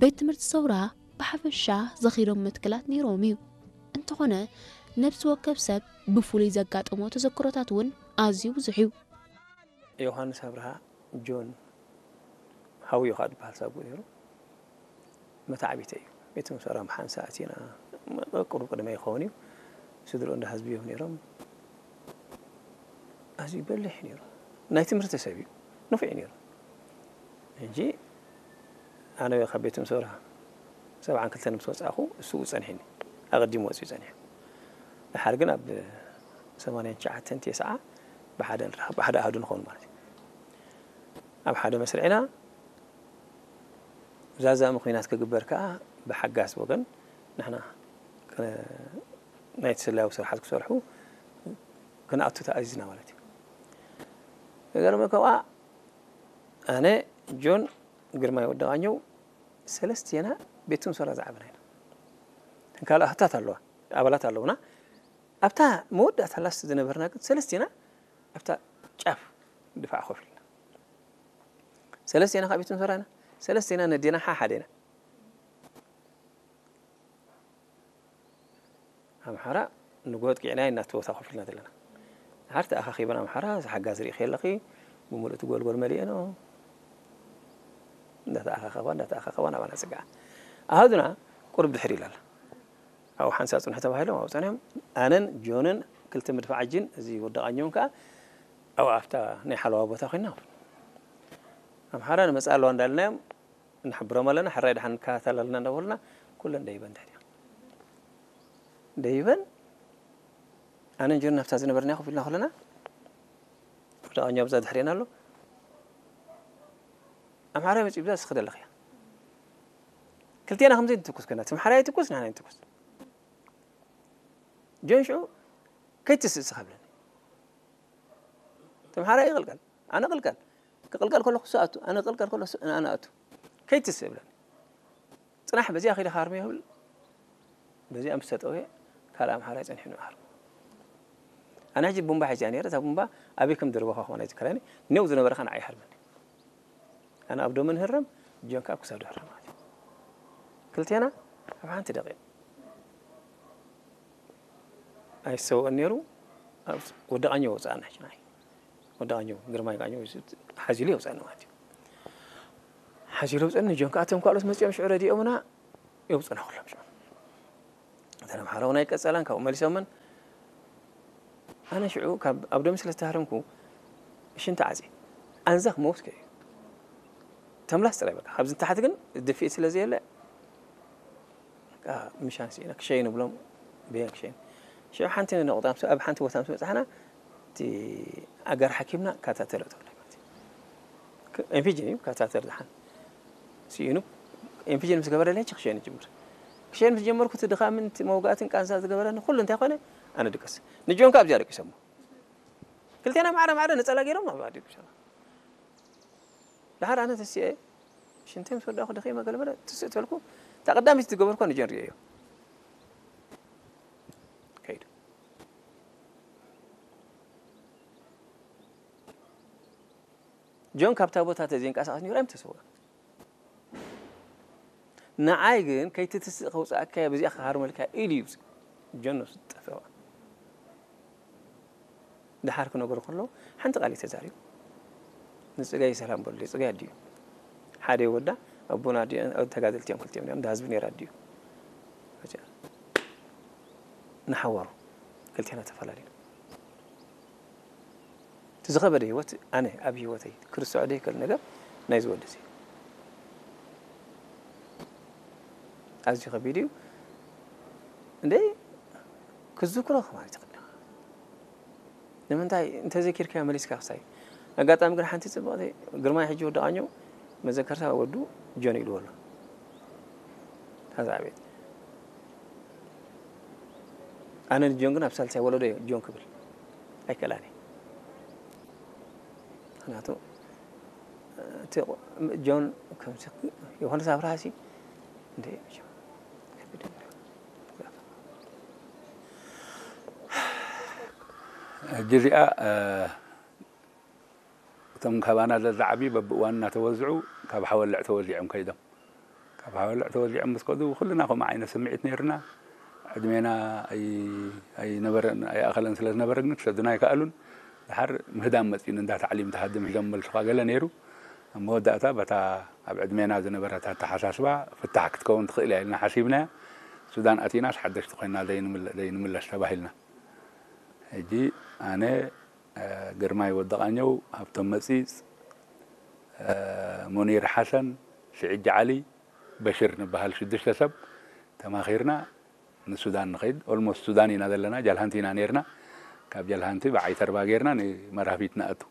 ቤት ትምህርቲ ሰውራ ብሓፈሻ ዘኺሮም መትከላት ነይሮም እዩ። እንተኾነ ነብሲ ወከፍ ሰብ ብፍሉይ ዘጋጠሞ ተዘክሮታት እውን ኣዝዩ ብዙሕ እዩ። ዮሃንስ ኣብርሃ፣ ጆን ሃውዮ ከዓ ዝበሃል ሳጉኡ ነይሩ። መታዕቢተ እዩ። ቤት ትምህርቲ ሰውራ ሓንሳ ኣቲና፣ ቁሩብ ቅድመ ይኸውን እዩ። ስድርኡ እንዳ ህዝቢ እዮም ነይሮም። ኣዝዩ በሊሕ ነይሩ። ናይ ትምህርቲ ሰብ እዩ። ንፉዕ እዩ ነይሩ። ሕጂ ኣነ ካብ ቤት ትምህርቲ ሰውራ ሰብዓን ክልተን ምስ ወፃእኹ እሱ ጸኒሕኒ። ኣቐዲሙ ወፂኡ ጸኒሑ። ድሓር ግን ኣብ ሰማንያን ትሽዓተን ተስዓ ብሓደ ንራኸብ፣ ብሓደ ኣሃዱ ንኸውን ማለት እዩ። ኣብ ሓደ መስርዕና ዛዛሚ ኹናት ክግበር ከዓ ብሓጋዝ ወገን ንሕና ከ-፣ ናይቲ ስለያዊ ስራሓት ክሰርሑ ክንኣቱ ተኣዚዝና ማለት እዩ። ዝገርመካ ከዓ ኣነ፣ ጆን፣ ግርማይ ወዲ ቃኘው ሰለስቴና ቤት ትምህርቲ ሰውራ ዝዓበና ኢና። እተን ካልእ ኣህታት ኣለዋ፣ ኣባላት ኣለውና። ኣብታ መወዳእታ ላስት ዝነበርና ግን ሰለስቴና ኣብታ ጫፍ ድፋዕ ኮፍ ኢልና። ሰለስቴና ካብ ቤት ትምህርቲ ሰውራ ኢና። ሰለስቴና ነዴና ሓሓደ ኢና። ኣምሓራ ንጎ ኣጥቂዕና ኢና እቲ ቦታ ኮፍ ኢልና ዘለና። ድሓር ተኣኻኺበን ኣምሓራ፣ እዚ ሓጋዝ ርኢኺ ኣለኺ፣ ብምሉእ እቲ ጎልጎል መሊኤንኦ። እንዳተኣኻኸባ፣ እንዳተኣኻኸባ ናባና ጽግዓ። ኣሃዱና ቁሩብ ድሕር ኢላ ኣላ። ኣብኡ ሓንሳብ ጽንሑ ተባሂሎም ኣብኡ ጸኒሖም። ኣነን ጆንን ክልተ መድፍዓጂን እዚ ወዲ ቃኘውን ከኣ ኣብኡ ኣብታ ናይ ሓለዋ ቦታ ኮይንና። ኣምሓራ ንመጽኣ ኣለዋ እንዳልናዮም ንሕብሮም ኣለና፣ ሕራይ ደሓን ንከታተል ኣለና እንዳበሉና ኩለን ደይበን ድሕሪና። ደይበን ኣነን ጆን ናብታ ዝነበርና ኮፍ ኢልና ከለና ወዲ ቃኘው ኣብዛ ድሕሬና ኣሎ። ኣምሓራይ መጺኡ ብዛ ስኽደለኽያ። ክልቴና ከምዚ ንትኩስ ከና፣ እቲ ኣምሓራይ ይትኩስ፣ ንሕና ንትኩስ። ጆን ሽዑ ከይትስእ ስኻ ብለኒ። እቲ ኣምሓራይ ይቕልቀል፣ ኣነ ቅልቀል። ክቕልቀል ከለኹ እሱ ኣቱ፣ ኣነ ክቕልቀል ከሎ እሱ፣ ኣነ ኣቱ። ከይትስእ ብለኒ። ጽናሕ በዚኣ ከይደ ክሃርሞ ይብል። በዚኣ ምስ ተጠውየ ካልእ ኣምሓራይ ጸኒሑ ንሃርሞ። ኣነ ሕጂ ቡምባ ሒዘ እያ ነይረ፣ እታ ቡምባ ኣበይ ከም ዝደርበኻ ከማን ኣይዝክራን እየ። ኔው ዝነበረ ከኣ ንዓይ ይሃርመኒ። ኣነ ኣብ ዶመ ንህረም፣ ጆን ከኣ ኣብ ክሳዱ ይህረም ማለት እዩ። ክልቴና ኣብ ሓንቲ ደቂቕ። ኣይሰውእን ነይሩ። ኣብ ወዲ ቃኘው ወጻእና ሕጂ ንዓይ። ወዲ ቃኘው፣ ግርማይ ቃኘው ሓዚሉ የውጻእኒ ማለት እዩ። ሓዚሉ የውጸኒ፣ ጆን ከኣ እቶም ካልኦት መጺኦም ሽዑ ረዲኦምና የውጹና ኩሎም ሽዑ። እተን ኣምሓራ እውን ኣይቀጸላን፣ ካብኡ መሊሶምን። ኣነ ሽዑ ካብ ኣብ ዶም ስለ ዝተሃረምኩ ሽንቲ ዓጺ ኣንዛኽ መውት ከዩ። ተምላስ ጥራይ በቃ። ካብዚ ንታሕቲ ግን ድፍኢት ስለ ዘየለ፣ በቃ ምሻን ስኢነ ክሸይን ብሎም፣ በየን ክሸይን። ሽዑ ሓንቲ ነቑጣ ምስ፣ ኣብ ሓንቲ ቦታ ምስ በጻሕና፣ እቲ ኣጋር ሓኪምና ካታተር ኣእተወለይ ማለት እዩ። ክ-፣ ኤምፒጂ እዩ፣ ካታተር ደሓን ስኢኑ፣ ኤምፒጂ ምስ ገበረለይ፣ ሕጂ ክሸይን ይጅምር። ክሸይን ምስ ጀመርኩ፣ እቲ ድኻምን እቲ መውጋእትን ቃንዛ ዝገበረኒ ኩሉ እንታይ ኮነ? ኣነ ድቀስ። ንጆን ከኣ ኣብዚኣ ደቂሶሞ። ክልቴና ማዕረ ማዕረ ነጸላ ገይሮም ኣብኣ ደቂሶም። ደሓር ኣነ ተሲኤ፣ ሽንተይ ምስ ወዳእኩ ደኺመ ገለ በለ፣ ትስእ ተልኩ፣ እታ ቀዳመይቲ ዝገበርኩ ንጆን ርእየዮ። ከይዱ። ጆን ካብታ ቦታ ተዘይንቀሳቐስ ነይሩ፣ ኣይምተሰወኣን። ንዓይ ግን ከይትትስእ ከውጽኣካ እየ፣ በዚኣ ክሃርመልካ ኢሉ እዩ ጆን ነብሱ ዝጠፈዋ። ደሓር ክነግሮ ከሎ ሓንቲ ቃል እዩ ተዛሪቡ። ንጽጋይ ሰላም በሉ፣ ጽጋይ ኣዲኡ። ሓደ ወዳ ኣቦና ኣዲኡ፣ ተጋደልቲ እዮም ክልቲኦም ነይሮም፣ እንዳ ህዝቢ ነይራ ኣዲኡ። ንሓዋሩ ክልቴና ተፈላለዩ። እቲ ዝኸበደ ህይወት ኣነ ኣብ ህይወተይ ክርስዖ ዘይክእል ነገር ናይ ዝወዲ እዚ ኣዝዩ ከቢድ እዩ። እንደ ክዝክሮ ማለት ይኽእል። ንምንታይ እንተዘኪርካዮ መሊስካ ክሳይ። ኣጋጣሚ ግን ሓንቲ ጽብቕቲ ግርማይ ሕጂ ወዲ ቃኘው መዘከርታ ወዱ ጆን ኢልዎ ኣሎ። ታዛ ዕቤት። ኣነ ንጆን ግን ኣብ ሳልሳይ ወለዶ እየ ጆን ክብል ኣይከላን እየ። ምኽንያቱ እቲ ጆን ከምዚ ዮሃንስ ኣብርሃሲ እንደ ሕጂ እዚኣ እቶም ካባና ዘዝዓብዩ በብእዋኑ እናተወዝዑ ካብ ሓወልዕ ተወዚዖም ከይዶም። ካብ ሓወልዕ ተወዚዖም ምስ ከዱ ኩልና ከምኡ ዓይነት ስምዒት ነይርና። ዕድሜና ኣይነበረን ኣይኣኸለን ስለ ዝነበረ ግን ክሰዱና ኣይከኣሉን። ድሓር ምህዳም መፂኡን እንዳ ታዕሊም ትሃድም ሒዞም መልሱኻ ገለ ነይሩ። ኣብ መወዳእታ በታ ኣብ ዕድሜና ዝነበረት ኣተሓሳስባ ፍታሕ ክትከውን ትኽእል እያ ኢልና ሓሲብናያ። ሱዳን ኣቲናስ ሓደሽቲ ኮይና ዘይንምለስ ተባሂልና። ሕጂ ኣነ ግርማይ ወዲ ቃኘው፣ ሃብቶም መጺጽ፣ ሙኒር ሓሰን፣ ስዒድ ጃዓሊ፣ በሽር ንበሃል ሽዱሽተ ሰብ ተማኺርና ንሱዳን ንኸይድ። ኦልሞስት ሱዳን ኢና ዘለና፣ ጃልሃንቲ ኢና ነይርና። ካብ ጃልሃንቲ ብዓይተርባ ጌርና ንመራፊት ንኣቱ።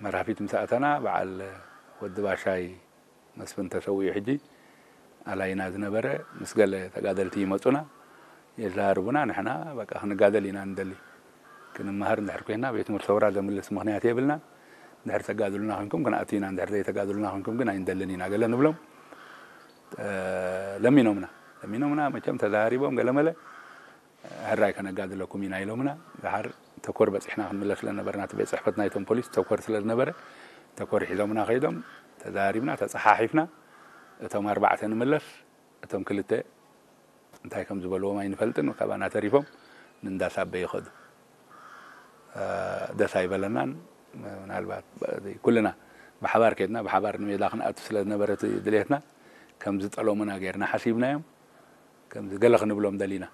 መራፊት ምስ ኣተና በዓል ወዲ ባሻይ መስፍን ተሰዊኡ ሕጂ ኣላይና ዝነበረ ምስ ገለ ተጋደልቲ ይመጹና የዛርቡና። ንሕና በቃ ክንጋደል ኢና ንደሊ። ክንመሃር እንድሕር ኮይና ቤት ትምህርቲ ሰውራ ዘምልስ ምኽንያት የብልናን። እንድሕር ተጋድሉና ኮንኩም ክንኣቱ ኢና፣ እንድሕር ዘይተጋድሉና ኮንኩም ግን ኣይንደልን ኢና ገለ ንብሎም። ለሚኖምና ለሚኖምና መቸም ተዛሪቦም ገለመለ ሕራይ ከነጋድለኩም ኢና ኢሎምና። ድሓር ተኮር በፂሕና ክንምለስ ስለነበርና እቲ ቤት ፅሕፈት ናይቶም ፖሊስ ተኮር ስለ ዝነበረ ተኮር ሒዞምና ከይዶም ተዛሪብና ተፀሓሒፍና። እቶም ኣርባዕተ ንምለስ እቶም ክልተ እንታይ ከም ዝበልዎም ኣይንፈልጥን ካባና ተሪፎም ንእንዳ ሳበ ይኸዱ። ደስ ኣይበለናን። ምናልባት ኩልና ብሓባር ከድና ብሓባር ንሜዳ ክንኣቱ ስለ ዝነበረ ድሌትና ከም ዝጠለሙና ጌርና ሓሲብናዮም። ከምዚ ገለ ክንብሎም ደሊና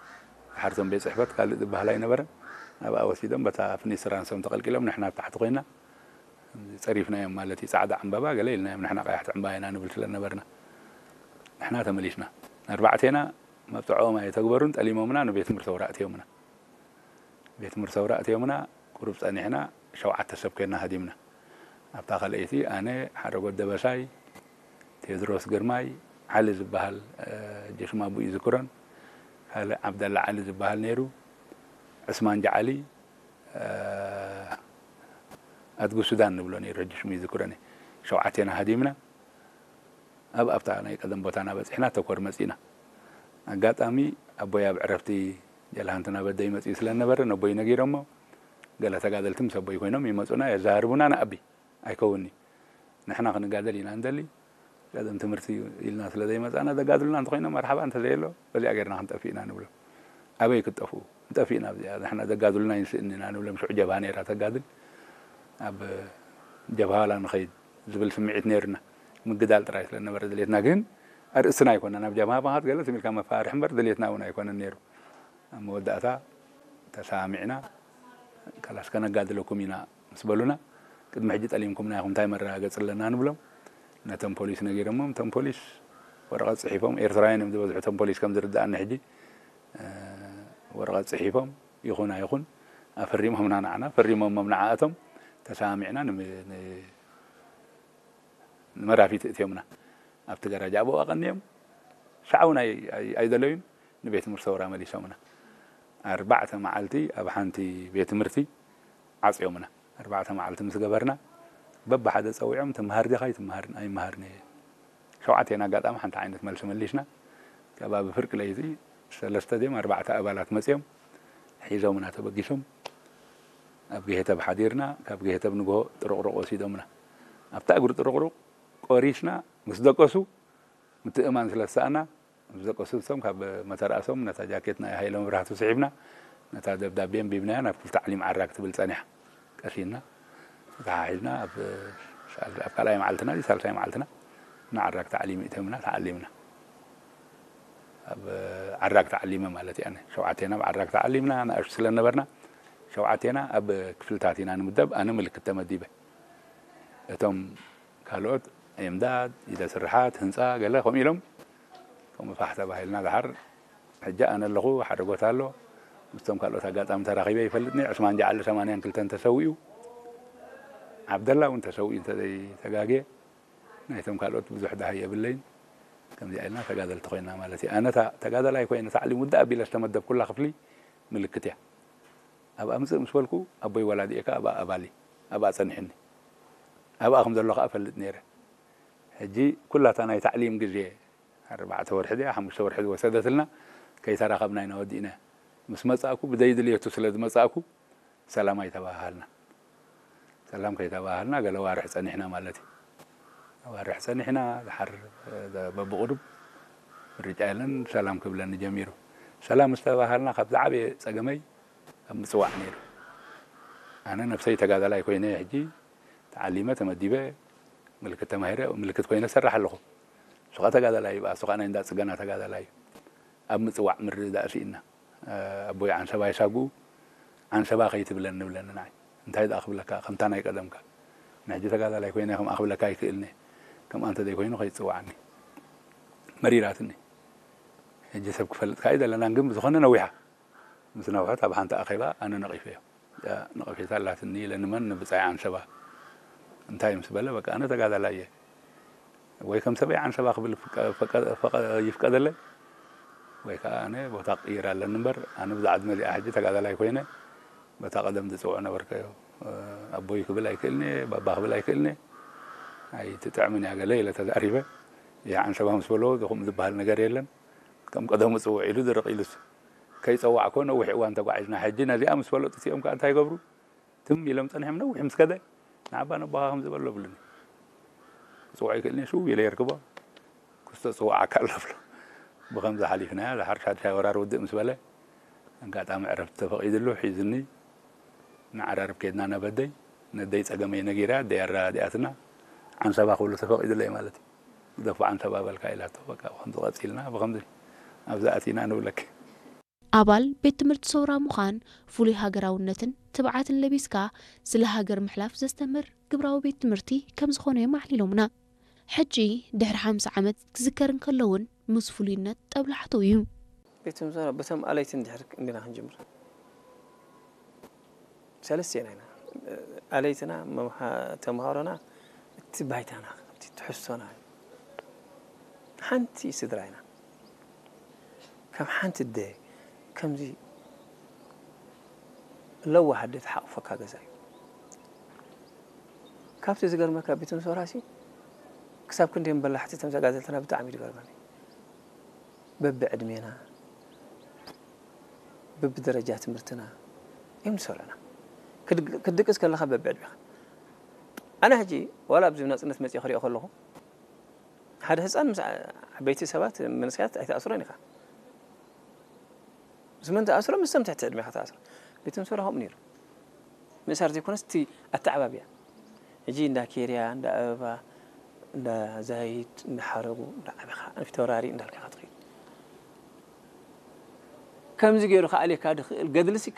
ሓርቶም ቤት ፅሕፈት ካልእ ዝበሃል ኣይነበረን። ኣብኣ ወሲዶም በታ ፍኒስ ራንሶም ተቐልቂሎም ንሕና ኣብ ታሕቲ ኮይና ጸሪፍናዮም ማለት እዩ። ጻዕዳ ዕምባባ ገለ ኢልናዮም ንሕና ቀያሕቲ ዕምባባ ኢና ንብል ስለ ነበርና ንሕና ተመሊስና። ኣርባዕቴና መብፅዖም ኣየተግበሩን ጠሊሞምና ንቤት ትምህርቲ ሰውራ ኣእትዮምና። ቤት ትምህርቲ ሰውራ ኣእትዮምና ቁሩብ ጸኒሕና ሸውዓተ ሰብ ኮይና ሃዲምና። ኣብታ ካልኣይቲ ኣነ ሓረጎት ደበሳይ ቴድሮስ ግርማይ ዓሊ ዝበሃል ሕጂ ሽም ኣቦኡ ይዝክሮን ካልእ ዓብደላ ዓሊ ዝበሃል ነይሩ ዕስማን ጃዓሊ ኣድጉ ሱዳን ንብሎ ነይሩ ሕጂ ሽሙ ይዝክሮን ሸውዓቴና ሃዲምና ኣብ ኣብታ ናይ ቀደም ቦታና በፂሕና ተኮር መፂና ኣጋጣሚ ኣቦይ ኣብ ዕረፍቲ ጀልሃንቲ ናበደይ መፅኡ ስለነበረ ነቦይ ነጊሮሞ ገለ ተጋደልቲ ምስ ኣቦይ ኮይኖም ይመፁና የዛርቡና ንኣቢ ኣይከውንኒ ንሕና ክንጋደል ኢና እንደሊ ቀደም ትምህርቲ ኢልና ስለ ዘይመፃና ዘጋድሉና እንተኮይኖም መርሓባ እንተዘየሎ በዚኣ ገርና ክንጠፍእ ኢና ንብሎም ኣበይ ክትጠፍኡ ንጠፍእ ኢና ኣብዚኣ ንሕና ዘጋድሉና ይንስእኒ ኢና ንብሎም ሽዑ ጀብሃ ነይራ ተጋድል ኣብ ጀብሃ ዋላ ንኸይድ ዝብል ስምዒት ነይሩና ምግዳል ጥራይ ስለ ነበረ ድሌትና ግን ኣርእስትና ኣይኮነን ኣብ ጀብሃ ምኻድ ገለ ስሚልካ መፋርሒ እምበር ድሌትና እውን ኣይኮነን ነይሩ ኣብ መወዳእታ ተሰማሚዕና ካላስ ከነጋድለኩም ኢና ምስ በሉና ቅድሚ ሕጂ ጠሊምኩምና ኢኹም እንታይ መረጋገፂ ኣለና ንብሎም ነቶም ፖሊስ ነጊሮሞም እቶም ፖሊስ ወረቐት ፅሒፎም ኤርትራውያን እዮም ዝበዝሑ እቶም ፖሊስ ከም ዝርድኣኒ ሕጂ ወረቐት ፅሒፎም ይኹን ኣይኹን ኣፈሪሞምና ንዓና ፈሪሞሞም ንዓኣቶም ተሰማሚዕና ንመራፊት እትዮምና ኣብቲ ገራጃ ኣብኡ ኣቐንዮም ሻዕ እውን ኣይደለዩን ንቤት ትምህርቲ ሰውራ መሊሶምና ኣርባዕተ መዓልቲ ኣብ ሓንቲ ቤት ትምህርቲ ዓፅዮምና ኣርባዕተ መዓልቲ ምስ ገበርና በብሓደ ፀዊዖም ትምሃር ዲኻ ኣይትምሃርን ኣይምሃርን እየ ሸውዓቴና ኣጋጣሚ ሓንቲ ዓይነት መልሲ መሊስና ከባቢ ፍርቂ ለይቲ ሰለስተ ድዮም ኣርባዕተ ኣባላት መፅዮም ሒዞምና ተበጊሶም ኣብ ገሄተብ ሓዲርና ካብ ገሄተብ ንግሆ ጥሩቕሩቕ ወሲዶምና ኣብታ እግሪ ጥሩቕሩቕ ቆሪስና ምስ ደቀሱ ምትእማን ስለ ዝሰኣና ምስ ደቀሱ እቶም ካብ መተርኣሶም ነታ ጃኬት ናይ ሃይለ መብራህቱ ስሒብና ነታ ደብዳቤ ኣንቢብናያ ናብ ክፍሊ ታዕሊም ዓራግ ትብል ጸኒሓ ቀሲና ተተሓሒዝና ኣብ ካልኣይ መዓልትና ሳልሳይ መዓልትና ንዓራግ ታዕሊም ይእተምና ተዓሊምና ኣብ ዓራግ ተዓሊመ ማለት እያ ሸውዓቴና ኣብ ዓራግ ተዓሊምና ንኣሽቱ ስለ ነበርና ሸውዓቴና ኣብ ክፍልታት ኢና ንምደብ ኣነ ምልክት ተመዲበ እቶም ካልኦት ኤምዳድ፣ ኢደ ስርሓት፣ ህንፃ ገለ ከምኡ ኢሎም ከምኡ ፋሕ ተባሂልና ድሓር ሕጂ ኣነ ኣለኹ ሓደ ቦታ ኣሎ ምስቶም ካልኦት ኣጋጣሚ ተራኺበ ይፈልጥኒ ዕስማን ጃዓሊ ሰማንያን ክልተን ተሰዊኡ ዓብደላ እውን ተሰዊኡ እንተዘይተጋግየ ናይቶም ካልኦት ብዙሕ ዳሃይ የብለይን ከምዚኣ ኢልና ተጋደልቲ ኮይና ማለት እዩ ኣነ ተጋደላይ ኮይነ ታዕሊም ውድእ ኣቢለ ዝተመደብኩላ ክፍሊ ምልክት እያ ኣብ ኣምፅእ ምስ በልኩ ኣቦይ ወላዲኤ ከዓ ኣብኣ ኣባሊ ኣብኣ ፀኒሕኒ ኣብኣ ከም ዘሎ ከዓ እፈልጥ ነይረ ሕጂ ኩላታ ናይ ታዕሊም ግዜ ኣርባዕተ ወርሒ ድያ ሓሙሽተ ወርሒ ዝወሰደትልና ከይተራኸብና ኢና ወዲእና ምስ መፃእኩ ብደይ ድልየቱ ስለ ዝመፃእኩ ሰላም ኣይተባሃሃልና ሰላም ከይተባሃሃልና ገለ ዋርሕ ፀኒሕና ማለት እዩ ኣዋርሕ ጸኒሕና፣ ድሓር በብቕሩብ ምርጫ የለን፣ ሰላም ክብለኒ ጀሚሩ። ሰላም ምስ ተባሃልና ካብ ዝዓበየ ጸገመይ ኣብ ምጽዋዕ ነይሩ። ኣነ ነብሰይ ተጋዳላይ ኮይነ ሕጂ ተዓሊመ ተመዲበ ምልክት ተማሂረ ምልክት ኮይነ ሰራሕ ኣለኹ። እሱ ኸኣ ተጋዳላይ እዩ፣ እሱ ኸኣ ናይ እንዳ ጽገና ተጋዳላይ እዩ። ኣብ ምጽዋዕ ምርድዳእ ስኢንና። ኣቦይ ዓንሰባ ይሳጉ፣ ዓንሰባ ከይትብለኒ ንብለኒ ንዓይ። እንታይ ደኣ ክብለካ፣ ከምታ ናይ ቀደምካ። ንሕጂ ተጋዳላይ ኮይነ ከም ኣኽብለካ ኣይክእልኒ። ከምኣ እንተ ዘይኮይኑ ከይትጽውዓኒ። መሪራትኒ። ሕጂ ሰብ ክፈልጥ ከኣ ኣይደለናን፣ ግን ብዝኾነ ነዊሓ። ምስ ነውሐት ኣብ ሓንቲ ኣኼባ ኣነ ነቒፈዮ። እዚኣ ነቐፌታ ኣላትኒ ኢለ ንመን ንብጻይ ዓንሰባ እንታይ ምስ በለ፣ በቃ ኣነ ተጋዳላይ እየ። ወይ ከም ሰበይ ዓንሰባ ክብል ፍቀ-፣ ፈቀ-፣ ፈቀ-፣ ይፍቀደለይ፣ ወይ ከኣ ኣነ ቦታ ክቕይር ኣለኒ እምበር፣ ኣነ ብዛ ዕድመ እዚኣ ሕጂ ተጋዳላይ ኮይነ፣ በታ ቀደም ዝጽውዖ ነበርከዮ። ኣቦይ ክብል ኣይክእልኒ፣ ባባ ክብል ኣይክእልኒ። ኣይትጥዕምን እያ ገለ ኢለ ተዛሪበ። ይህ ዓንሰባ ምስ በሎ፣ ዝኹም ዝበሃል ነገር የለን። ከም ቀደሙ ጽውዕ ኢሉ ድርቕ ኢሉስ። ከይጸዋዕኮ ነዊሕ እዋን ተጓዒዝና። ሕጂ ነዚኣ ምስ ፈለጡ እቲኦም ከኣ እንታይ ይገብሩ? ትም ኢሎም ጸኒሖም ነዊሕ ምስ ከደ፣ ንዓባ ነቦኻ ከምዚ በሎ ብሉኒ። ክጽውዖ ይክእልኒ፣ ሽው ኢለ የርክቦ። ክስቶ ጽውዓካ ኣሎ ብሎ። ብኸምዚ ሓሊፍናያ፣ ድሓር ሻድሻይ ወራር ውድእ ምስ በለ፣ ኣጋጣሚ ዕረፍቲ ተፈቒድሉ፣ ሒዙኒ። ንዓራርብ ከድና ናብ ኣደይ፣ ነደይ ጸገመይ ነጊራ፣ ኣደይ ኣረዳዲኣትና፣ ዓንሰባ ክብሉ ተፈቒዱለይ ማለት እዩ። ግደፎ ዓንሰባ በልካ ኢላቶ፣ በቃ ብኸምዚ ቀጺልና፣ ብኸምዚ ኣብዚ ኣቲና ንብለኪ። ኣባል ቤት ትምህርቲ ሰውራ ምዃን ፍሉይ ሃገራውነትን ትብዓትን ለቢስካ ስለ ሃገር ምሕላፍ ዘስተምህር ግብራዊ ቤት ትምህርቲ ከም ዝኾነ እዮም ኣዕሊሎምና። ሕጂ ድሕሪ ሓምሳ ዓመት ክዝከር እንከሎ እውን ምስ ፍሉይነት ጠብላሕትኡ እዩ። ቤት ትምህርቲ ሰውራ በቶም ኣለይቲ እንድሕር እንዲና ክንጅምር። ሰለስቴና ኢና። ኣለይትና፣ መምሃ-፣ ተምሃሮና፣ እቲ ባይታና፣ እቲ ትሕዝቶና፣ ሓንቲ ስድራ ኢና። ከም ሓንቲ ኣደ፣ ከምዚ ለዋህ ኣደ ትሓቑፈካ ገዛ እዩ። ካብቲ ዝገርመካ፣ ቤት ትምህርቲ ሰውራሲ፣ ክሳብ ክንደዮም በላሕቲ እቶም ተጋደልትና ብጣዕሚ እዩ ዝገርመኒ። በብዕድሜና፣ በብደረጃ ትምህርትና እዮም ዝሰርዑና። ክድግ-፣ ክትድቅስ ከለኻ በብዕድሜኻ። ኣነ ሕጂ ዋላ ኣብዚ ናጽነት መጺኤ ክሪኦ ከለኹ፣ ሓደ ህጻን ምስ ዓ-፣ ዓበይቲ ሰባት፣ መንእሰያት ኣይትኣስሮን ኢኻ። ምስ መን ትኣስሮ? ምስቶም ትሕቲ ዕድሜኻ ትኣስሮ። ቤት ትምህርቲ ሰውራ ከምኡ ነይሩ። ምእሳር ዘይኮነስ እቲ ኣተዓባብያ። ሕጂ እንዳ ኬርያ፣ እንዳ ኣበባ፣ እንዳ ዛይድ፣ እንዳ ሓረጉ፣ እንዳ ዓበኻ፣ ፊተውራሪ እንዳልካ ኢኻ ትኸይድ። ከምዚ ገይሩ ክኣልየካ ዝኽእል ገድልሲ